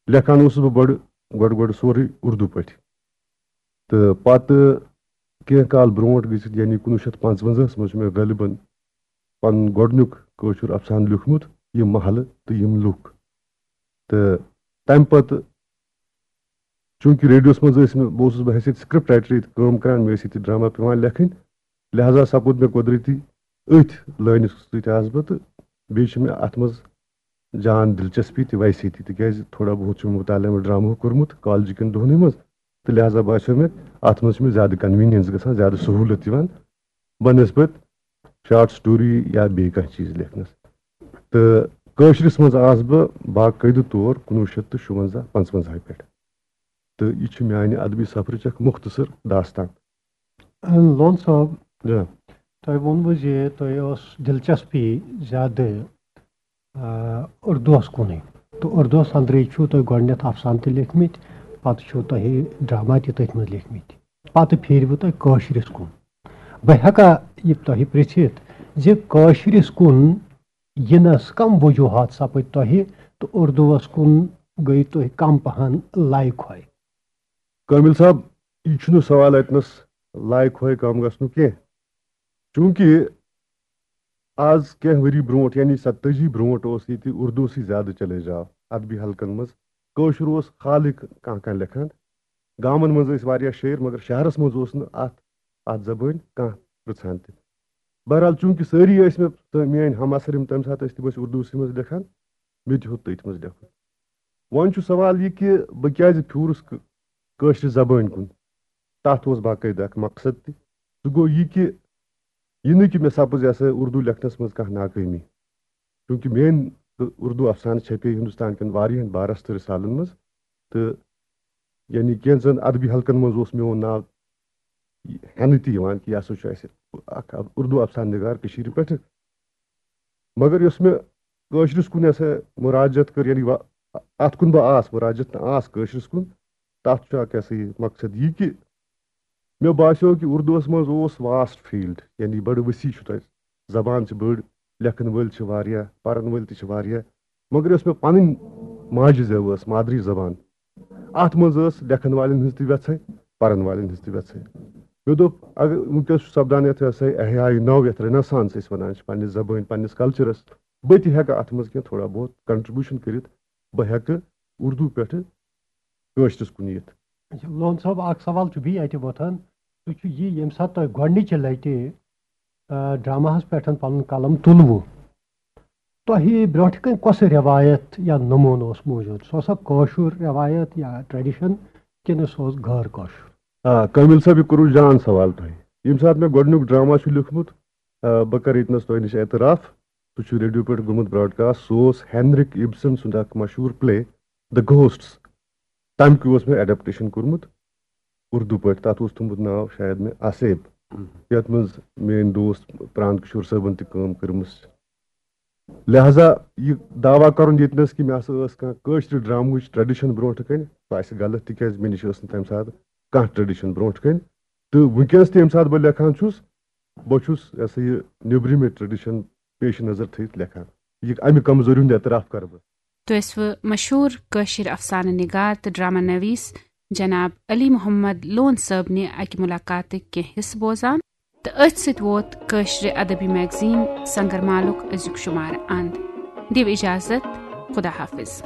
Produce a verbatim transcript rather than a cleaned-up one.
لیکھان اوسُس بہٕ بڑٕ گۄڈٕ گۄڈٕ سورُے اردو پٲٹھۍ۔ تہٕ پتہٕ کینٛہہ کال برونٛٹھ گٔژھِتھ، یعنی کُنوُہ شیٚتھ پانٛژوَنزاہَس منٛز چھُ مےٚ غٲلباً پنُن گۄڈٕنیُک کٲشُر افسانہٕ لیوٗکھمُت، یِم محلہٕ تہٕ یِم لُکھ۔ تہٕ تَمہِ پتہٕ، چوٗنٛکہِ ریڈیوَس منٛز ٲسۍ مےٚ، بہٕ اوسُس بہٕ حیثیت script writer ییٚتہِ کٲم کران، مےٚ ٲسۍ ییٚتہِ ڈرامہ پٮ۪وان لیکھٕنۍ، لہذا سپُد مےٚ قۄدرٔتی أتھۍ لٲنہِ سۭتۍ آس بہٕ، تہٕ بیٚیہِ چھِ مےٚ اَتھ منٛز جان دلچسپی تہِ ویسے تہِ، تِکیٛازِ تھوڑا بہت چھُ مےٚ مطالعہ ڈرامہُک کوٚرمُت کالجہِ کٮ۪ن دۄہنٕے منٛز، تہٕ لہذا باسیٚو مےٚ اَتھ منٛز چھِ مےٚ زیادٕ convenience گژھان، زیادٕ سہوٗلت یِوان بنسبت short story یا بیٚیہِ کانٛہہ چیٖز لیکھنَس۔ تہٕ کٲشرِس منٛز آس بہٕ باقٲعدٕ طور کُنوُہ شیٚتھ تہٕ شُوَنزاہ پانٛژوَنزاہہِ پٮ۪ٹھ۔ تہٕ یہِ چھُ میانہِ ادبی سفرٕچ اکھ مختصر داستان۔ لون صٲب، جا۔ تۄہہِ ووٚنوٕ زِ تۄہہِ ٲس دلچسپی زیادٕ آ، اردوس کُنُے۔ تہٕ اردوس اندرٕے چھُو تۄہہِ گۄڈٕنٮ۪تھ افسانہٕ تہِ لیکھمٕتۍ، پتہٕ چھُو تۄہہِ ڈرامہ تہِ تٔتھۍ منٛز لیکھمٕتۍ، پتہٕ پھیٖروٕ تۄہہِ کٲشرِس کُن۔ بہٕ ہٮ۪کا یہِ تۄہہِ پرژھِتھ زِ کٲشرِس کُن یِنس کم وجوہات سپٕدۍ تۄہہِ تہٕ اردوس کُن گٔے تُہۍ کم پہن لایہِ کھوے؟ کٲمِل صٲب، یہِ چھُنہٕ سوال اتنس لایہِ کھوے کم گژھنُک کینٛہہ، چوٗنٛکہِ آز کینٛہہ ؤری برونٛٹھ، یعنی ستٲجی برونٛٹھ، اوس ییٚتہِ اردوسٕے زیادٕ چلے جاو ادبی حلقن منٛز۔ کٲشُر اوس خالٕے کانٛہہ کانٛہہ لیکھان۔ گامن منٛز ٲسۍ واریاہ شٲعر، مگر شہرس منٛز اوس نہٕ اتھ اتھ زبٲنۍ کانٛہہ پرژھان تہِ۔ بہرحال، چوٗنٛکہِ سٲری ٲسۍ مےٚ تہٕ میٲنۍ ہم عصر یِم تمہِ ساتہٕ ٲسۍ، تِم ٲسۍ اردوسٕے منٛز لیکھان، مےٚ تہِ ہیوٚت تٔتھۍ منٛز لیکھُن۔ وۄنۍ چھُ سوال یہِ کہِ بہٕ کیازِ پھیوٗرُس کٲ- کٲشرِ زبٲنۍ کُن؟ تَتھ اوس باقٲعدٕ اکھ مقصد تہِ۔ سُہ گوٚو یہِ کہِ یہِ نہٕ کہِ مےٚ سپٕز یہِ ہسا اردو لیکھنس منٛز کانٛہہ ناکٲمی، چوٗنٛکہِ میٲنۍ تہٕ اردو افسانہٕ چھپے ہندوستان کٮ۪ن واریاہن بارس تہٕ رسالن منٛز، تہٕ یعنی کینٛژن ادبی حلقن منٛز اوس میون ناو ہٮ۪نہٕ تہِ یِوان کہِ یہِ ہسا چھُ اسہِ اکھ اردو افسانہٕ نگار کٔشیٖرِ پٮ۪ٹھٕ۔ مگر یۄس مےٚ کٲشرِس کُن یۄس مراجعت کٔر، یعنی وا- اتھ کُن بہٕ آس مراجعت تہٕ آس کٲشرِس کُن، تتھ چھُ اکھ یہِ ہسا یہِ مقصد یہِ کہِ مےٚ باسیو کہِ اردوس منٛز اوس vast field، یعنی بڑٕ ؤسیع چھُ تتہِ، زبان چھِ بٔڑ، لیکھن وٲلۍ چھِ واریاہ، پرن وٲلۍ تہِ چھِ واریاہ، مگر یۄس مےٚ پنٕنۍ ماجہِ زٮ۪و ٲس، مادری زبان، اتھ منٛز ٲس لیکھن والٮ۪ن ہٕنٛز تہِ وٮ۪ژھے، پرن والٮ۪ن ہٕنٛز تہِ وٮ۪ژھے۔ مےٚ دوٚپ، اگر وٕنکیٚس چھُ سپدان یتھ یۄس سا احیاء نو، یتھ Renaissance أسۍ ونان چھِ پننہِ زبٲنۍ، پننِس کلچرس، بہٕ تہِ ہٮ۪کہٕ اتھ منٛز کینٛہہ تھوڑا بہت contribution کٔرِتھ، بہٕ ہٮ۪کہٕ اردو پٮ۪ٹھٕ کٲشرِس کُن یِتھ۔ اچھا، لون صٲب، اکھ سوال چھُ بیٚیہِ اتہِ وۄتھان، سُہ چھُ یہِ، ییٚمہِ ساتہٕ تۄہہِ گۄڈنِچہِ لٹہِ، آ، ڈراماہس پٮ۪ٹھ پنُن قلم تُلوٕ، تۄہہِ برونٛٹھ کنہِ کۄس ریوایت یا نموٗنہٕ اوس موٗجوٗد؟ سُہ اوسا کٲشُر ریوایت یا tradition، کِنہٕ سُہ اوس غٲر کٲشُر؟ آ، کٲمِل صٲب، یہِ کوٚروٕ جان سوال تۄہہِ۔ ییٚمہِ ساتہٕ مےٚ گۄڈٕنیُک ڈرامہ چھُ لیوٗکھمُت، آ، بہٕ کرٕ ییٚتنَس تۄہہِ نِش اعتراف، سُہ چھُ ریڈیو پٮ۪ٹھ گوٚمُت broadcast، سُہ اوس ہینرک ابسن سُنٛد اکھ مشہوٗر play The Ghosts، تَمہِ کہِ اوس مےٚ adaptation کوٚرمُت اردو پٲٹھۍ، تَتھ اوس تھوٚمُت ناو شاید مےٚ آصیب، یَتھ منٛز میٲنۍ دوست پرانت کشور صٲبن تہِ کٲم کٔرمٕژ۔ لہذا یہِ دعویٰ کرُن ییٚتنَس کہِ مےٚ ہسا ٲس کانٛہہ کٲشرِ ڈرامہٕچ tradition برونٛٹھ کنہِ، سُہ آسہِ غلط، تِکیازِ مےٚ نِش ٲس نہٕ تَمہِ ساتہٕ کانٛہہ tradition برونٛٹھ کنہِ۔ تہٕ وٕنکیٚنَس تہِ ییٚمہِ ساتہٕ بہٕ لیکھان چھُس، بہٕ چھُس، یہِ ہسا یہِ، نیٚبرِمہِ tradition پیش نظر تھٲوِتھ لیکھان۔ یہِ اَمہِ کمزوٗری ہُنٛد اعتراف کرٕ بہٕ۔ تُہۍ ٲسوٕ مشہوٗر کٲشِر افسانہٕ نگار تہٕ ڈرامہ نویس جناب علی محمد لون صٲبنہِ اکہِ ملاقاتٕکۍ کینٛہہ حصہٕ بوزان، تہٕ أتھۍ سۭتۍ ووت کٲشرِ ادبی magazine سنگرمالُک أزیُک شمارٕ اند۔ دِیِو اجازت، خدا حافظ۔